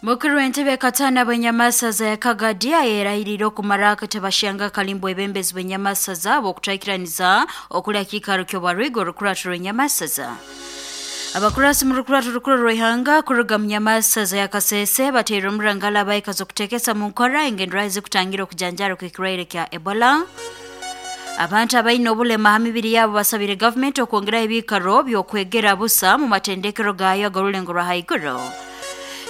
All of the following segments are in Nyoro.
Mukuru w'entebe Katana bw'enyamasaza ya Kagadi ayerahirire okumara akatebashanga kalimbo ebembezi bw'enyamasaza bw'okutaikiraniza okulya kiikaro ky'obwarwigo orukurato rw'enyamasaza. Abakurasi mu rukurato rukuru rw'ihanga kuruga mu nyamasaza ya Kasese bateire omurangala abaikazi okutekesa mu nkora engenderaho ezikutangira okujanjara kw'ekirwaire kya Ebola. Abantu abaine obulema ha mibiri yabo basabire gavumenti okwongeraho ebiikaro by'okwegera busa mu matendekero gayo ag'orulengo rwa haiguru.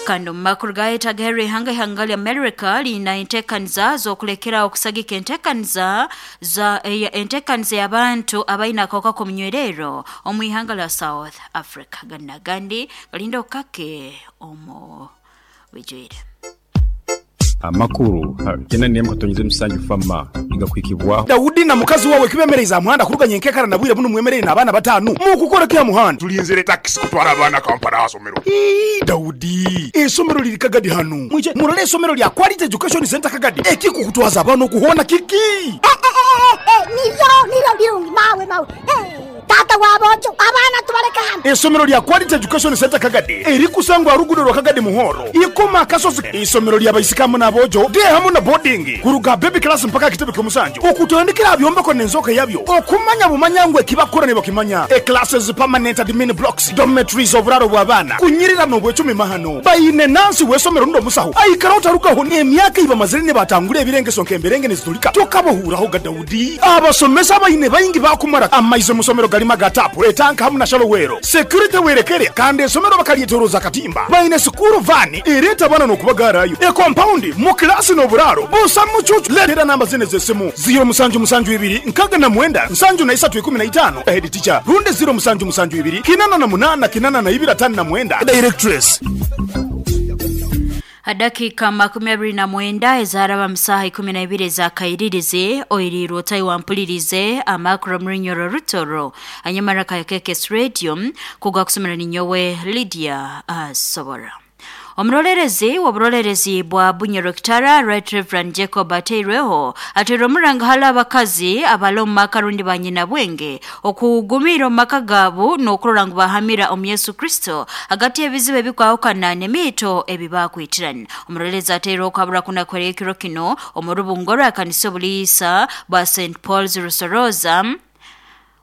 Kandi omu makuru gayetagaherwa ihanga ihanga lya America liina entekaniza z'okulekeraho okusagika entekaniza za entekaniza y'abantu abaine akahuka k'omunywererro omu ihanga lya South Africa. Ganu n'agandi galinda okukake omu bwijwire. Amakuru kyenda n'emu katonyeze musanju Fama nigakuhikibwaho. Daudi na mukazi wawe kibemereize aha muhanda kuruga nyenkekara na bwire bunu mwemereire n'abaana bataanu. Mukukora ki aha muhanda? Tulinzire takisi kutwara abaana Kampala aha somero. Ii, Daudi, eisomero liri Kagadi hanu. Mwije murole eisomero lya Quality Education Centre Kagadi. Ekikukutwaza abaana oku hoona kiki? Eh, eh, eh, eh, niryo, niryo birungi, mawe, mawe. Eh, taata w'aboojo, abaana tubaleke hanu. Eisomero lya Quality Education Centre Kagadi erikusangwa aha ruguudo rwa Kagadi Muhoro, Ikoma Akasozi. Eisomero lya baisiki hamu n'aboojo, day hamu na boarding, kuruga aha baby class mpaka aha kitebe ky'omusanju, okutandikira aha byombeko n'enzooka yabyo, okumanya bumanya ngu eki bakukora nibakimanya, e-classes, permanent admin blocks, dormitories, oburaaro bw'abaana, kunyirira n'obwecumi mahano. Baine nansi w'eisomero rundi omusaho aikaraho tarugaho n'emyaka ei bamazire nibatangura ebirengeso nk'emberenge nizitulika. Tokabahuuraho ga Daudi. Abasomesa abaine baingi baakumara amaizi omu somero garimu aga taapu, etanka hamu na shalowero. Security werekere kandi esomero bakaryetoroza akatimba. Baine sikuuru vaani ereeta abaana n'okubagaarayo, ekompaundi, mu kilaasi n'oburaaro busa mucuucu. Leetera namba zinu ez'esimu, ziiro musanju musanju ibiri nkaaga na mwenda nsanju na isatu ikumi na itaano, Head teacher, rundi ziiro musanju musanju ibiri kinana na munaana kinana na ibiri ataano na mwenda, Directress. Ha dakiika 29 ezaaraba mu saaha 12 ez'akairirizi, oiriirwe otahi wampulirize amakuru omu Runyoro Rutoro hanyuma raka KKS Radio kugwa kusomera ninyowe Lydia Asobora. Omurolerezi w'oburolerezi bwa Bunyoro Kitara Right Reverend Jacob Ateirweho ateirwe omuranga hali abakazi abali omu maka rundi ba nyina bwenge okugumira omu maka gaabo n'okurora ngu bahamira omu Yesu Kristo hagati y'ebizibu ebikwahukana n'emiito ebi bakwitirana. Omurolerezi ateirweho kuhabura kuna kwera ekiro kino omu rubungo rwa kanisa obuliisa bwa St Paul's Rusoroza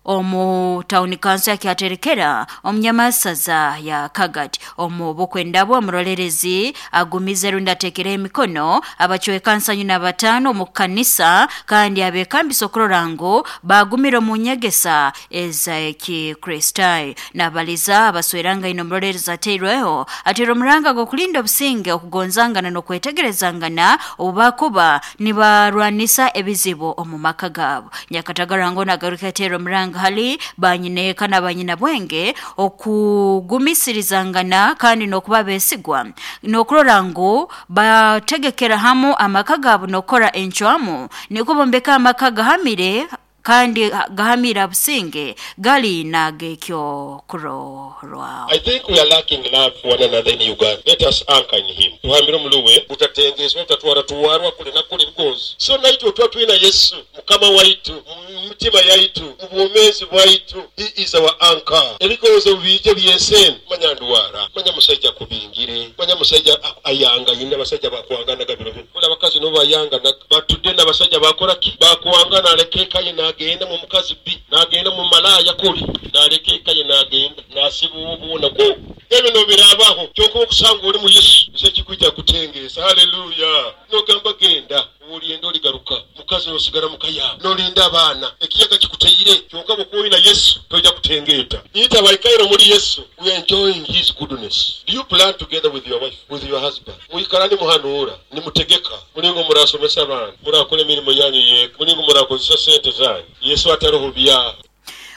omu tawuni kanso ya Kyaterekera omu nyamasaza ya Kagadi. Omu bukwenda bwe omurolerezi agumize rundi ateekereho emikono abacweka nsanju na bataano omu kanisa kandi abekambisa okurora ngu bagumire omu nyegesa ez'Ekikristaayo. Nabaliza abaswerangaine omurolerezi ateirweho ateire omuranga gw'okulinda obusinge, okugonzangana n'okwetegerezangana obu bakuba nibarwanisa ebizibu omu maka gaabo. Nyakatagara ngu nagaruka yateera omuranga hali banyineeka na banyinabwenge okugumisirizangana kandi n'okuba besigwa n'okurora ngu bategekera hamu amaka gaabo n'okukora encwamu nikwo bombeka amaka gahamire kandi gahamire abusinge gali n'ag'ekyokurorwaho. I think we are lacking love for one another in Uganda. Let us anchor in him. Tuhambire omuluwe butatengeswa butatwaratwarwa kule na kule because so naitwe tuba twina Yesu mukama waitu mu mitima yaitu mu bwomeezi bwaitu. He is our anchor. Ebigonzo biije by'ensi manya ndwara manya musaija kubingire manya musaija ayanga yine abasajja bakwanganaga biro bino buli abakazi nabo bayanganaga batudde n'abasajja bakora ki bakwangana aleka eka ye n'agenda mu mukazi bi n'agenda mu malaaya kuli n'aleka eka ye n'agenda n'asiba obuuna ku ebyo nobiraabaho kyonka okusanga oli mu Yesu nze kikwijja kutengeesa. Haleluya. Nogamba genda olienda oligaruka mukazi nosigara mukaya nolinda abaana ekiyaga kikuteire kyonka bw'okuba Yesu tojja kutengeeta. Ita abaikaire omuli Yesu, we are enjoying his goodness. Do you plan together with your wife, with your husband? Mwikara nimuhanuura nimutegeka mulingo murasomesa abaana murakora emirimo yanyu yeeka mulingo murakozesa sente zanyu Yesu ataroho bya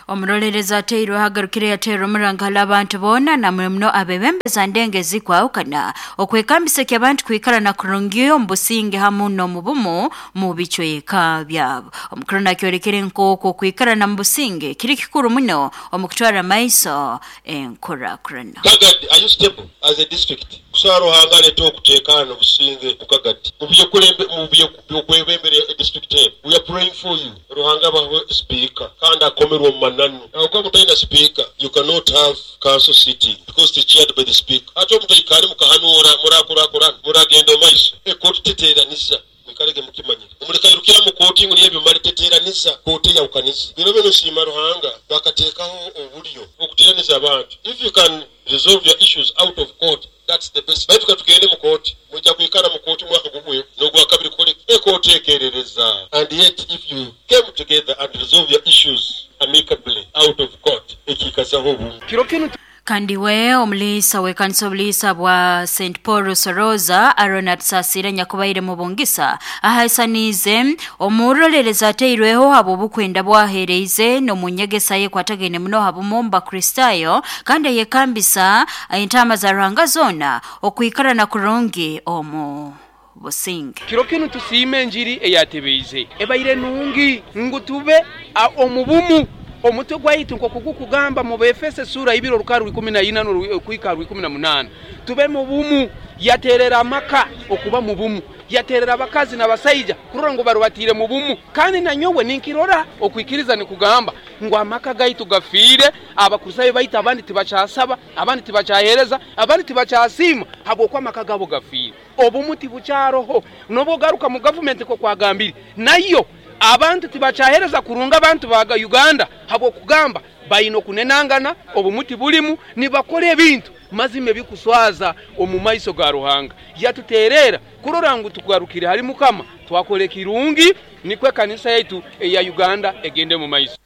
Omurolerezi ateirwe ahagarukire yateera omuranga hali abantu boona namwe muno abebembeza ndenge ezikwahukana okwekambisa abantu kwikara na kurungi omu businge hamu n'omu bumu mu bicweka byabo. Omukuru nakyorekere nk'oku okwikarana mu businge kiri kikuru muno omu kutwara maiso enkurakurana. Kagadi, are you stable as a district? Kusaba Ruhanga aleete okuteekaana obusinge mu Kagadi mu byokwebembera District eno, we are praying for you. Ruhanga abahe speaker kandi akomerwe omu mananu. Habwokuba mutaina speaker, you cannot have council sitting because it's chaired by the speaker. Ate omutaikale mukahanuura murakurakurana muragenda omaiso. Ekooti teteeraniza. Mwikalege mukimanyire. Omulekairukira mu kooti ngu niyo ebimale teteeraniza, kooti eyawukaniza. Biro bino nsiima Ruhanga bakateekaho obulyo okuteeraniza abantu. If you can resolve your issues out of court, that's the best. Baitu katugende mu kooti, mujja kwikara mu kooti mwaka gugwe n'ogwa kabiri kukole ekooti ekerereza. And yet if you came together and resolve your issues amicably out of court, ekiikazaho obumu. Kiro kinu Kandi we omulisa w'ekanisa obulisa bwa St Paul Soroza Aaron Atusasire nyakubaire mu Bungisa ahaisaniize omurolereza ateirweho abo obukwenda bwahereize n'omunyegesa ye kwatagaine muno habumu mu Bakristayo kandi eyekambisa entama za Ruhanga zona okwikarana kurungi omu businge. Kiro kinu tusiime enjiri eyatebeize ebaire nungi ngu tube omubumu. Omutwe gwaitu nk'okugukugamba mu Befeso sura ibiri orukaru ikumi na ina n'okwika ikumi na munana, tube mu bumu. Yaterera amaka okuba mu bumu, yaterera abakazi n'abasaija kurora ngu barubatire mu bumu. Kandi nanyowe ninkirora okwikiriza nikugamba ngu amaka gaitu gafiire, abakristayo baitu abandi tibakyasaba, abandi tibakyahereza, abandi tibakyasiima habwokuba amaka gabo gafiire. Obumu tibukyaroho. Nobu ogaruka mu gavumenti nkokwagambire, nayo abantu tibakyahereza kurunga abantu ba Uganda habwokugamba baine okunenangana, obumuti bulimu, nibakora ebintu mazima ebikuswaza omu maiso ga Ruhanga. Yatuterera kurora ngu tugarukire hali Mukama, twakora ekirungi, nikwo ekanisa yaitu eya Uganda egende mu maiso.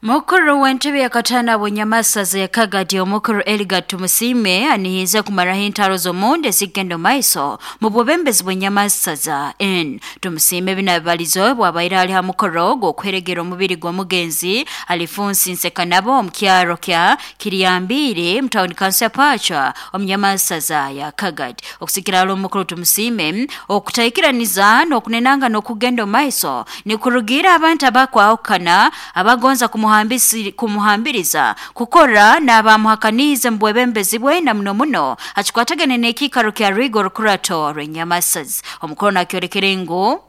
Mukuru w'entebe ya katana bw'enyamasaza ya Kagadi omukuru Eliga Tumusime anihize kumaraho entaro z'omunde zigenda maiso mu bwebembezi bw'enyamasaza N. Tumusime binabalizo bwabaire ali ha mukoro gw'okweregera omubiri gw'omugenzi Alifunsi Nsekanabo omu kyaro kya Kiryambire mu tawuni kanso ya Pacha omu nyamasaza ya Kagadi. Okusikira ali omukuru Tumusime okutaikiraniza n'okunenanga n'okugenda maiso nikurugira abantu abakwahukana abagonza kumuhambiriza kukora n'abamuhakaniize mu bwebembezi bwe na muno muno hakikwatagane n'ekiikaro kya Rigo Rukurato rw'enyamasazi. Omukuru nakyolekere ngu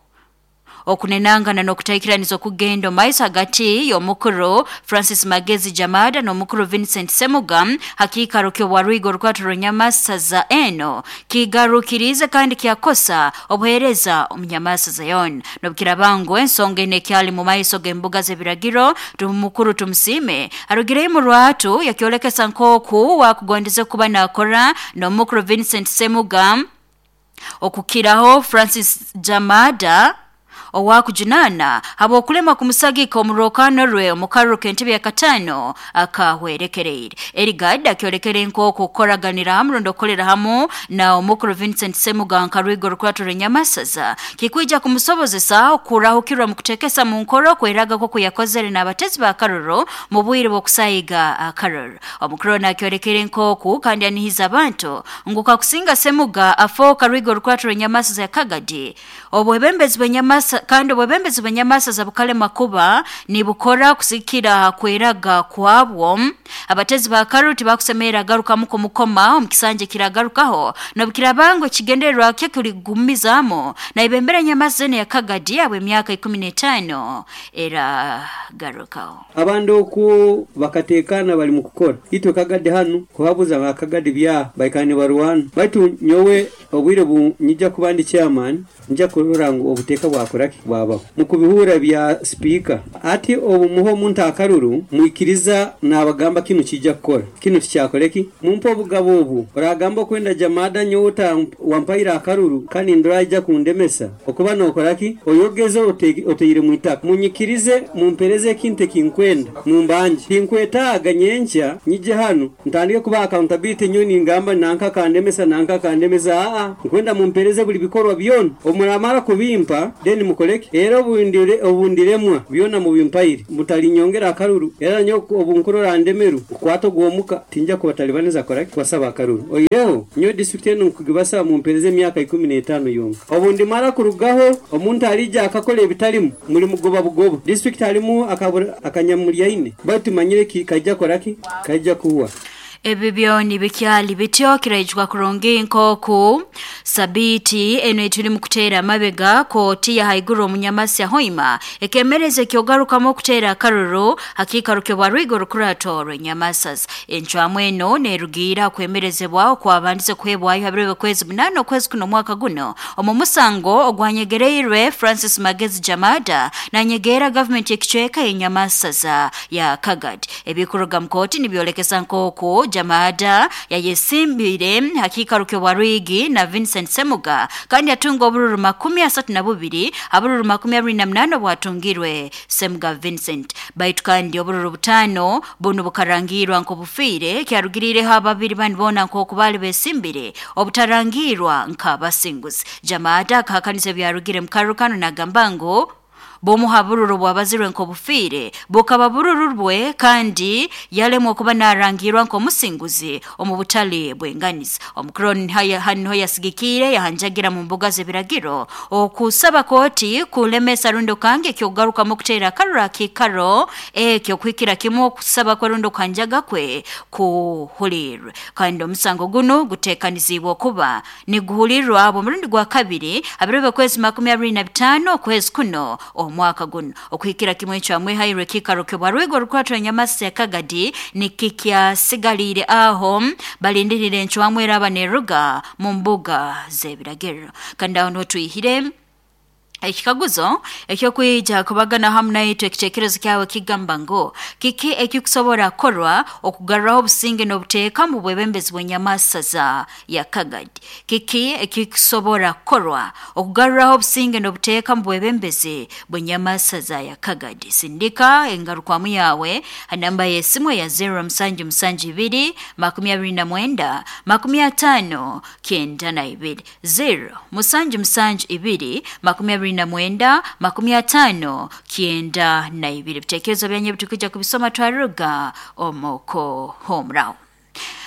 okunenangana n'okutaikiraniza okugenda maiso hagati y'omukuru Francis Magezi Jamada n'omukuru Vincent Semuga hakiikaro ky'obwarwigo Rukurato rw'enyamasaza eno kigarukirize kandi kyakosa obuheereza omu nyamasaza yona. Nobukirabangu ensonga eno ekyali mu maiso g'embuga z'ebiragiro, mukuru Tumusime arugireyo mu rwatu yakyolekesa nk'oku wakugondeze kuba nakora n'omukuru Vincent Semuga okukiraho Francis Jamada owakujunana habwokulema kumusagika omurokano rwe omukaruru k'entebe ya katano akahwerekereire. Erigad akyolekere nk'oku kukoraganira hamu rundi okukolera hamu na omukuru Vincent Semuga nka Rwigo Rukurato rw'enyamasaza kikwija kumusobozesa okurahukirwa mu kutekesa mu nkoro kweraga kwoku yakozere n'abatezi ba karuru mu bwire bw'okusayiga akaruru. Omukuru nakyolekere nk'oku kandi anihiza abantu ngu kakusinga Semuga afooka Rwigo Rukurato rw'enyamasaza ya Kagadi obwebembezi bw'enyamasa kandi obwebembezi bw'enyamasaza bukalema kuba nibukora kusikira kweraga kwabwo. Abatezi ba karuru tibakusemerera agarukamu kumukoma omu kisanja kiragarukaho nobukirabango ekigendererwa kye kuligumizamu na ibembera enyamasaza eno ya Kagadi abwe emyaka 15 eragarukaho. Abandi okwo bakatekana bali mu kukora itwe Kagadi hanu kuhabuza ba Kagadi bya baikani barwana baitu nyowe obwire bu nyija kuba ndi chairman nja kurora ngu obuteeka bwakora bwabaho mukubihura bya speaker ati obumuho omuntu akaruru mwikiriza nabagamba kinu kijja kukora kinu tikyakoreki mumpa obugabo obu oragamba okwenda Jamada nyota wampaira akaruru kandi nduraija kundemesa okuba nokoraki oyogeze oteire mwitaka munyikirize mumpereze ekintu ekinkwenda mumbanje tinkwetaaga nyenkya nyije hanu ntandike kuba accountability nyoni ngamba nanka kandemesa nanka kandemesa aa nkwenda mumpereze buli bikorwa byona omuramara kubimpa then mukoleke era obundiremwa byona mubimpaire mutalinyongera akaruru era nyo obunkurora ndemeru kwato gwomuka tinja kubatalibaniza koraki kwasaba akaruru oireho nyo district eno nkugibasa mumpereze emyaka 15 yonka obundi mara kurugaho omuntu alija akakola ebitalimu muri mugoba bugoba district alimu akanyamulyaine batu manyire kaija koraki kaija kuwa. Ebi byoni bikyali bityo kiraijwa kurungi nkoku sabiti eno etuli mukuteera amabega kooti ya haiguru omunyamasya hoima ekemereza ekyogarukamu okuteera akaruru hakiikaruke bwa rwigo rukurato rw'enyamasas. Encwamu eno nerugiira kwemerezebwa okwabandize kuhebwayo ha biro by'okwezi 8 okwezi kuno omwaka guno omu musango ogwanyegereirwe Francis Magezi Jamada nanyegeera gavumenti ekicweka y'enyamasaza ya Kagadi. Ebikuruga mu kooti nibyolekesa nkoku Jamada yayesimbire hakiikaruke bwa Rwigi na Vincent Semuga kandi atunga obururu 32 abururu 28 bwatungirwe Semuga Vincent. Baitu kandi obururu 5 bunu bukarangirwa nkobufiire kyarugirireho ababiri bandi bona nkoku bali besimbire obutarangirwa nkabasinguzi. Jamada akahakanisa ebyarugire mu karukano nagamba ngu bomuha bururu bwabazirwe nkobufiire bukaba bururu bwe kandi yalemwa okuba narangirwa nkomusinguzi omu butale bwenganizi. Omukroni haniho yasigikiire yahanjagira mu mbuga z'ebiragiro okusaba kooti kulemesa rundi okange ekyokugarukamu okuteera akaruru akiikaro ekyo kuhikira kimu okusaba kwe rundi okuhanjaga kwe kuhulirwe. Kandi omusango guno guteekanizibwe okuba niguhulirwa omurundi gwa kabiri abiro by'okwezi 25 okwezi kuno omwaka guno. Okuhikira kimwe ekyamwehairwe ekikaro kibwa rwigo rukwatwa enyamasi ya Kagadi nikikyasigalire aho balindirire encwamu eraba neruga mu mbuga z'ebiragiro. Kandi aho niho twihire ekikaguzo ekyokwija kubagana hamu naitwe ekitekerezo kyawe kigamba ngu kiki ekikusobora kukorwa okugarraho obusinge n'obuteeka mu bwebembezi bw'enyamasaza ya Kagadi. Kiki ekikusobora kukorwa okugarraho obusinge n'obuteeka mu bwebembezi bw'enyamasaza ya Kagadi? Sindika engarukwamu yawe ha namba y'esimu ya 0772 29 50 92 0 772 29 50 92. Ebitekerezo byanyu bitukija kubisoma twaruga omoko homrao.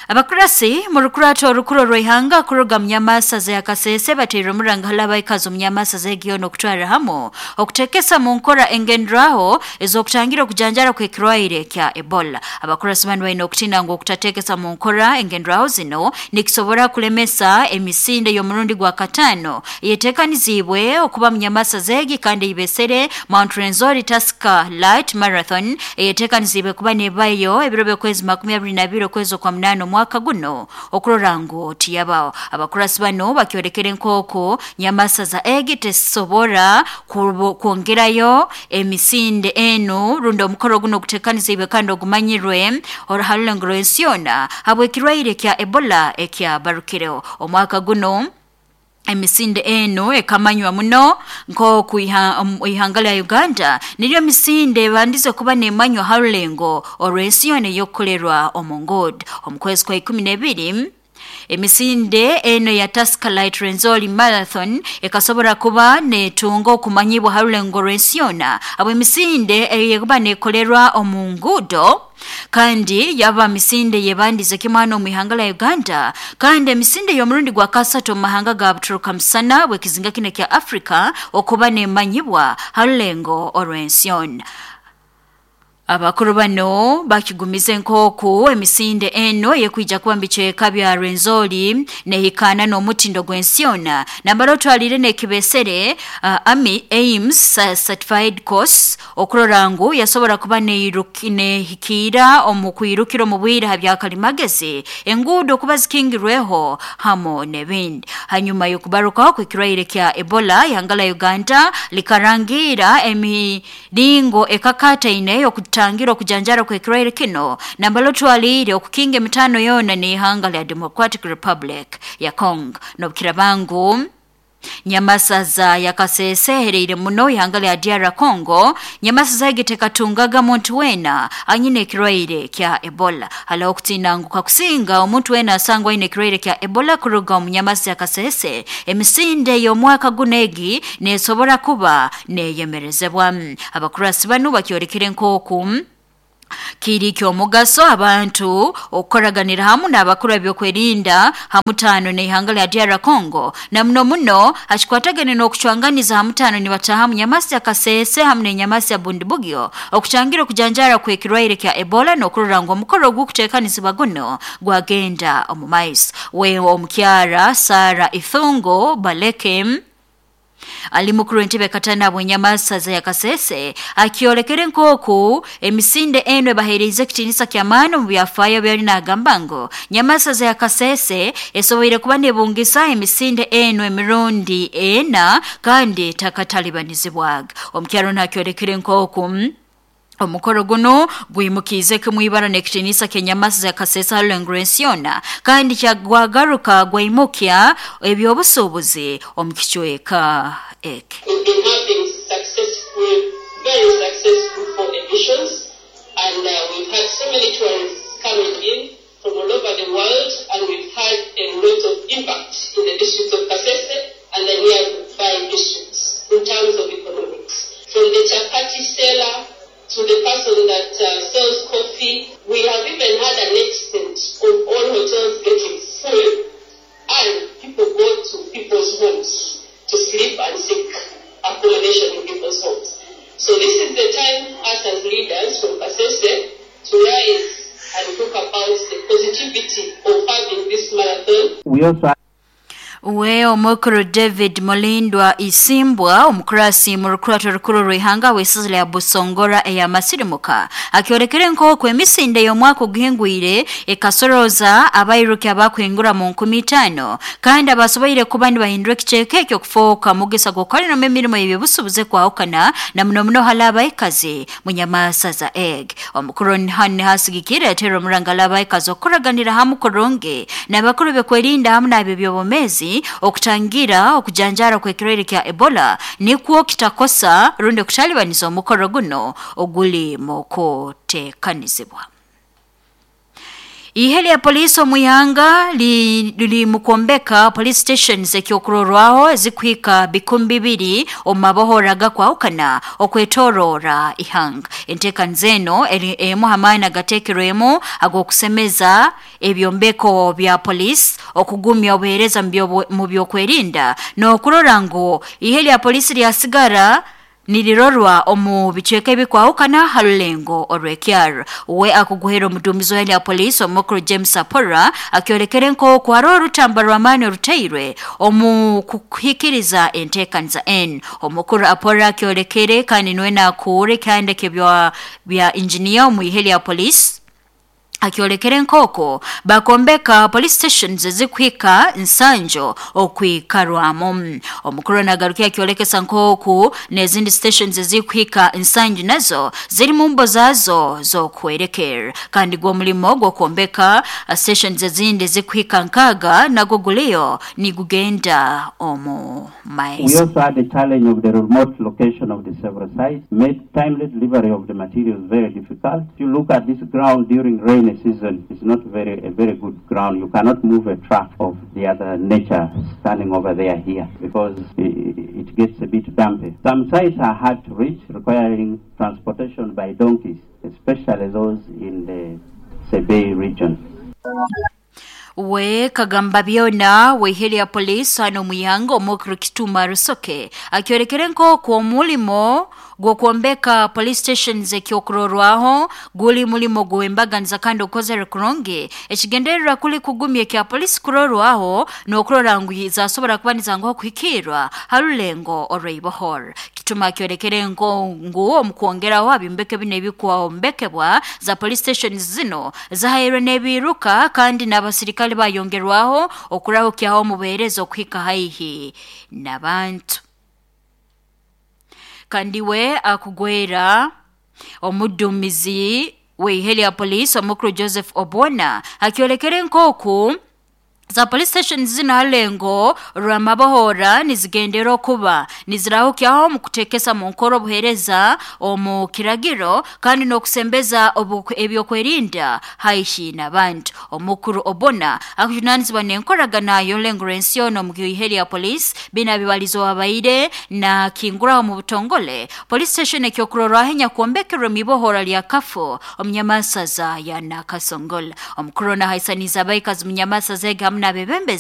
Abakurasi mu rukurato orukuru rw'ihanga kuruga munyamasaza ya Kasese bateire omuranga halabaikazi omunyamasaza egiyono okutwara hamu okutekesa mu nkora engendraho ez'okutangira okujanjara kw'ekirwaire kya Ebola. Abakurasi banu balina okutina ngu okutatekesa mu nkora engendraho zino nikisobora kulemesa emisinde y'omurundi gwa 5 eyetekanizibwe okuba munyamasaza egi kandi ibesere Mount Rwenzori Tusker Light Marathon eyetekanizibwe kuba nebayo ebiro by'okwezi 22 okwezi kwa 8 omwaka guno okurora ngu tiyabaho. Abakurasi bano bakyolekere nkoko nyamasaza egi tesobora kwongerayo emisinde eno rundi omukoro guno ogutekanizibwe kandi ogumanyirwe oruharulengo rw'ensi yona habw'ekirwaire kya Ebola ekyabarukireho omwaka guno. Emisinde eno ekamanywa muno nkoku ihanga lya Uganda niryo misinde bandize kuba nemanywa harulengo olw'ensi yona eyokukolerwa omu nguudo. Omu kwezi kwa 12 emisinde eno ya Tusker Light Rwenzori Marathon ekasobora kuba netunga okumanyibwa harulengo rw'ensi yona abo emisinde eyekuba nekolerwa omu nguudo kandi yaba misinde yebandize kimwana omu ihanga la Uganda kandi emisinde y'omurundi gwa 3 omu mahanga ga Buturuka musana bw'ekizinga kino kya Afrika okuba nemanyibwa harulengo olw'ensi yona. Abakuru bano bakigumize nkoku emisinde eno yekwija kuba mbicweka bya Rwenzori nehikana n'omutindo gw'ensi yona nambara otwalire n'ekibesere Army Aims Certified Course okurora ngu yasobora kuba nehikiira omu kwirukira omu bwire ha byakalimagezi enguudo kuba zikingirweho hamo n'ebindi. Hanyuma y'okubarukaho kw'ekirwaire kya Ebola ihanga la Uganda likarangira emiringo ekakataine y'okutangira okujanjara kw'ekirwaire kino nambala otwalire okukinga emitano yona n'ihanga lya Democratic Republic ya Congo. N'obukirabangu nyamasaza yakasese ehereire muno ihanga lya DR Congo nyamasaza egi tekatungaga muntu wena anyine ekirwaire kya Ebola. Halaho okutina ngu kakusinga omuntu wena asangwa aine ekirwaire kya Ebola kuruga omu nyamasa yakasese emisinde y'omwaka guno egi nesobora kuba neyemerezebwa. Abakurasi banu bakyolekere nkoku Kiri ky'omugaso abantu okukoraganira hamu n'abakuru ebyokwerinda hamutano n'ihanga lya DR Congo na muno muno hakikwatagane n'okucwanganiza hamutano nibataha mu nyamasi ya Kasese hamu n'enyamasi ya Bundibugyo okutangira okujanjara kw'ekirwaire kya Ebola n'okurora ngu omukoro ogw'okuteekanisibwa guno gwagenda omu maiso. We omukyara Sara Ithungo Baleke ali mukuru w'entebe katana bw'enyamasa za Kasese akiolekere nkoku emisinde eno ebaheereza ekitiinisa ky'amaani omu byafaayo byali n'agamba ngu nyamasa za Kasese esoboire kuba nebungisa emisinde eno emirundi ena kandi takatalibanizibwaga. Omukyaro nakyolekere nkoku omukoro guno gwimukiize kimwibara n'ekitiinisa ky'enyamasa za Kasese Halengresiona kandi kyagwagaruka gwimukya ebyobusuubuzi omu kicweka eki. We've been having successful, very successful 4 editions, and we've had so many tourists coming in from all over the world, and we've had a lot of impact in the district of Kasese and the nearby districts in terms of economics. From the chapati seller to the person that sells coffee, we have even had an extent of all hotels getting full, and people go to people's homes to sleep and seek accommodation in people's homes. So this is the time us as leaders from Kasese to rise and talk about the positivity of having this marathon. We also We omukuru David Mulindwa Isimbwa omukurasi mu rukurato rukuru rw'ihanga w'isizi lya Busongora eya Masirimuka akiolekere nk'oku emisinde y'omwaka oguhingwire ekasoroza abairuki abakuhingura mu 5000 kandi abasoboire kuba nibahindura ekicweka ekyo kufooka mugisa gw'okukoleramu emirimo y'ebyobusuubuzi kwahukana na muno muno hali abaikazi mu nyamasa za egg. Omukuru hanu hasigikire atera omurangala abaikazi okukuraganira hamu kurungi n'abakuru b'okwerinda hamu n'ab'ebyobumezi okutangira okujanjara kw'ekirwaire kya Ebola nikwo kitakosa rundi okutalibaniza omukoro guno oguli mu kuteekanizibwa. Ihe lya polisi omuyanga lili mukombeka police stations ekyokurorwaho ezikuhika 2,000 omu mabohora gakwahukana okwetorora ihanga. Enteekaniza eno emu hamaani agateekerwemu ag'okusemeza ebyombeko bya polisi, okugumya obuheereza mu byokwerinda n'okurora ngu ihe lya polisi lyasigara nirirorwa omu bicweka ebikwahukana ha rulengo orw'ekyaro. We akuguhera omuduumizi wa polisi omukuru James Apora akiolekere nk'oku hariho orutamba rw'amaani oruteirwe omu kuhikiriza enteekaniza enu. Omukuru Apora akiolekere kandi niwe nakuura ekihandiko bya injiniya omu ihe lya polisi akiolekere nkoko bakombeka police stations ezikuhika nsanjo okwikarwamu. Omukuru nagarukia akiolekesa nkoku n'ezindi stations ezikuhika nsanju nazo ziri mu mbo zazo z'okwerekera kandi gwo mulimo gw'okombeka stations ezindi ezikuhika nkaga nago guliyo nigugenda omu maiso. We also had the challenge of the remote location of the several sites, made timely delivery of the materials very difficult. If you look at this ground during rain season, it's not a very good ground. You cannot move a truck of the other nature standing over there here because it gets a bit dumpy. Some sites are hard to reach, requiring transportation by donkeys, especially those in the Sebei region. We kagamba byona weheri ya polisi hano muyanga omukuru Kituma Rusoke akiolekere nk'oku omulimo gw'okwombeka police stations ekyokurorwaho guli mulimo gw'embaganiza kandi okozere kurungi ekigendererwa kuli kugumya ekya polisi kurorwaho n'okurora ngu zasobora kuba nizanguha kuhikirwa ha rulengo orw'ibohoro. Kituma akiolekere ngu omu kwongeraho ebyombeko bino ebikwombekebwa za police stations zino zahairwe n'ebiruka kandi n'abasirikale bayongerwaho okurahukyaho omubuheereza okuhika haihi n'abantu. Kandi we akugwera omudumizi w'ihele ya polisi omukuru Joseph Obona akiolekere nkoku Za police station zino halengo rwamabohora nizigendera okuba nizirahukyaho mu kutekesa mu nkoro obuhereza omu kiragiro kandi n'okusembeza ebyokwerinda haihi n'abantu. Omukuru obona akujunanizibwa n'enkoragana y'orulengo rw'ensi yoona omu ihe lya police bina bibalizo wabaire na kinguraho mu butongole police station ekyokurorwaho enyakwombekerwe mu ibohora lya Kafo omunyamasaza ya Nakasongola. Omukuru nahaisaniza abaikazi munyamasaza ege hamu n'abebembezi.